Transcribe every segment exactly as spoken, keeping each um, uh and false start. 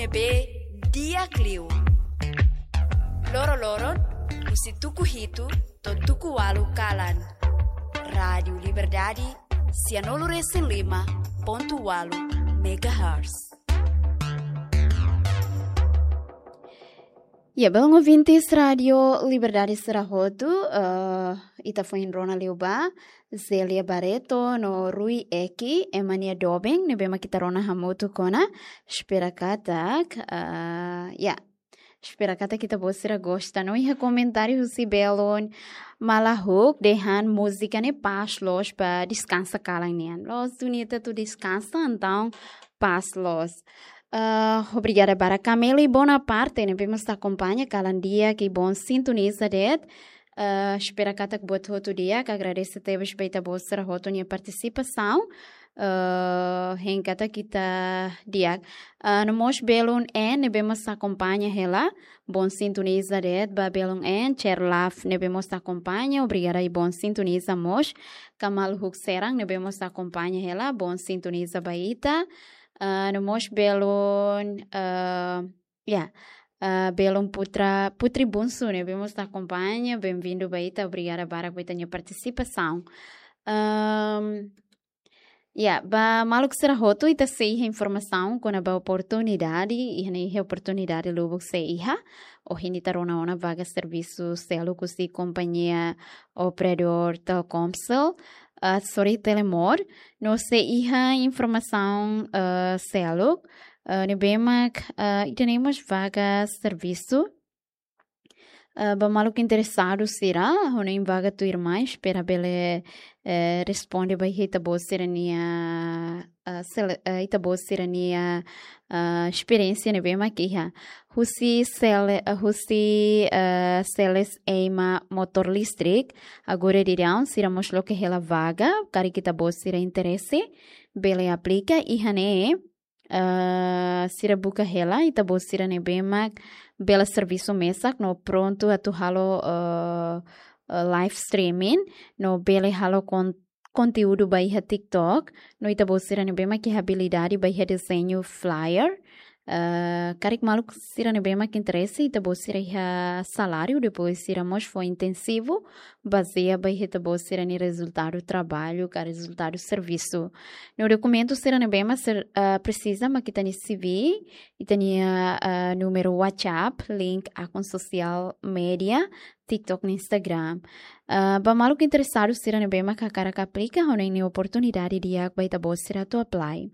Be di'ak liu. Loro-loron, husi tuku hitu to'o tuku ualu kalan. Rádiu Liberdade, sianulu resin lima pontu ualu megahertz. Ya, belun ouvintes Rádiu Liberdade sira hotu, eh, ita foin rona liu ba Zélia Barreto no Rui Eki, ema nia doben, ne'ebé mak ita rona hamutuk ona, espera katak, eh, ya, espera katak ita-boot sira gosta. No iha komentáriu husi belun Malahuk dehan múzika ne'e pas loos ba deskansa kalan nian. Loos duni ita atu deskansa, entaun pas loos. Ah, obrigada barak Cameli Bonaparte, ne'ebé mós akompaña kalan di'ak i bom sintoniza de'it. Ah, espera katak buat hotu di'ak, agradese tebes ba ita-boot sira hotu nia partisipasaun. Ah, hein katak ita di'ak. Ah, no mós belun N, ne'ebé mós akompaña hela, bom sintoniza de'it ba belun N, Cherlaf, ne'ebé mós akompaña, obrigada i bom sintoniza mós. Kamal Huk Serang, ne'ebé mós akompaña hela, bom sintoniza ba ita. Ah, no mós belun, ah, ya, ah, belun Putra, Putri Bunsu, ne'ebé mós akompaña, bem-vindo ba ita, obrigada barak ba ita-nia partisipasaun. Ahm, ya, ba maluk sira hotu, ita sei iha informasaun kona-ba oportunidade, iha ne'e iha oportunidade lubuk sei iha, ohin ita rona ona vaga servisu seluk husi kompañia operadór Telkomcel, ah, sorry, Telemor, no sei iha informasaun, ah, seluk, ah, ne'ebé mak, ah, ida-ne'e mós vaga servisu, ah, ba maluk interesadu sira, ho ne'e vaga tuirmai, espera bele, eh, responde ba iha ita-boot sira-nia, ah, sele-, ah, ita-boot sira-nia, ah, esperiénsia ne'ebé mak iha. Husi sele-, ah, husi, ah, seles ema motór listrik, agora daudaun sira mós loke hela vaga, karik ita-boot sira interese, bele aplika, iha ne'e, ah, sira buka hela ita-boot sira ne'ebé mak bele servisu mesak no prontu atu halo, ah, ah, live streaming, no bele halo kon-, konteúdu ba iha TikTok, no ita-boot sira ne'ebé mak iha abilidade ba iha dezeñu flyer. Ah, karik maluk sira ne'ebé mak interese, ita-boot sira iha saláriu, depois sira mós fó intensivu, bazeia ba iha ita-boot sira-nia rezultadu traballu, ka rezultadu servisu. No dokumentu sira ne'ebé mak ser-, ah, presiza mak ita-nia C V, ita-nia, ah, númeru WhatsApp, link akun sosiál média, TikTok no Instagram. Ah, ba maluk interesadu sira ne'ebé mak hakarak aplika, ho ne'e ne'e oportunidade di'ak ba ita-boot sira atu apply.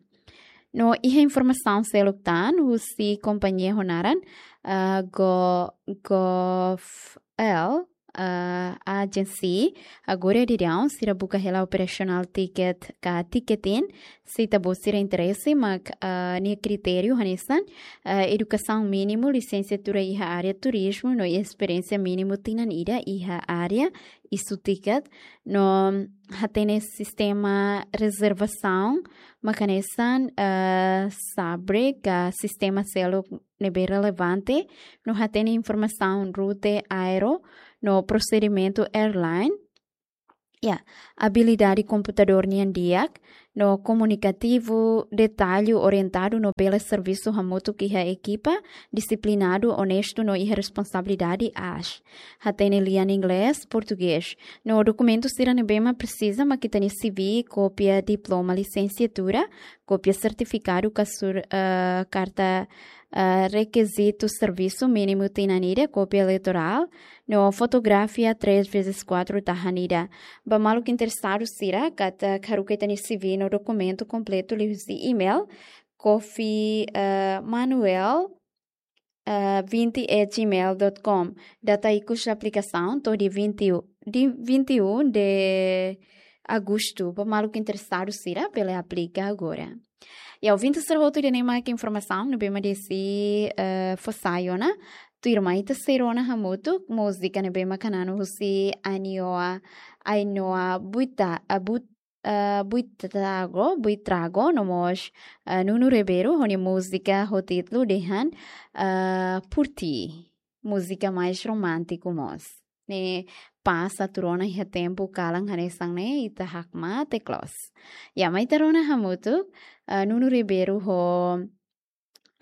No iha informasaun seluk tan, husi kompañia ho naran, ah, Go-, Govl, ah, Agency, agora daudaun, sira buka hela operasionál tiket ka tiketin, se ita-boot sira interese, mak, ah, nia kritériu hanesan, ah, edukasaun mínimu, lisensiatura iha área turizmu, no esperiénsia mínimu tinan ida iha área isu tiket, no hatene sistema rezervasaun, mak hanesan, eh, Sabre ka sistema seluk ne'ebé relevante, no hatene informasaun rute aéreu, no prosedimentu airline. Ya, abilidade komputadór nian di'ak, no komunikativu, detallu, orientadu, no bele servisu hamutuk iha ekipa, disiplinadu, onestu, no iha responsabilidade aas. Hatene lian inglés, portugés. No dokumentu sira ne'ebé mak presiza, mak ita-nia C V, kópia diploma lisensiatura, kópia sertifikadu ka sur-, eh, karta, eh, rekizitu servisu mínimu tinan ida, kópia eleitorál, no fotografia três vezes quatro tahan ida. Ba maluk interesadu sira, katak haruka ita-nia C V no dokumentu kompletu liuhusi email, Kofi, eh, Manuel, eh, vinte at gmail dot com. Data ikus aplikasaun, to'o dia vinte e um, dia vinte e um de agosto. Ba maluk interesadu sira, bele aplika agora. Ya, ouvinte sira hotu, ida-ne'e mak informasaun ne'ebé mak desi, eh, fó sai ona. Tuirmai ita sei rona hamutuk múzika ne'ebé mak hananu husi Ainhoa, Ainhoa Buita, ah, But-, ah, Buitrago, Buitrago, no mós, ah, Nuno Ribeiro, ho nia múzika ho títulu dehan, ah, Por Ti. Múzika mais romántiku mós. Ne'e pas atu rona iha tempu kalan hanesan ne'e, ita hakmatek loos. Ya, mai ita rona hamutuk, ah, Nuno Ribeiro ho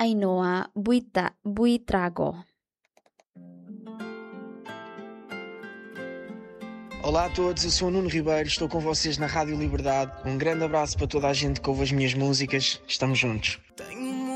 Ainhoa Buita-, Buitrago. Olá a todos, eu sou o Nuno Ribeiro, estou com vocês na Rádio Liberdade. Um grande abraço para toda a gente que ouve as minhas músicas. Estamos juntos.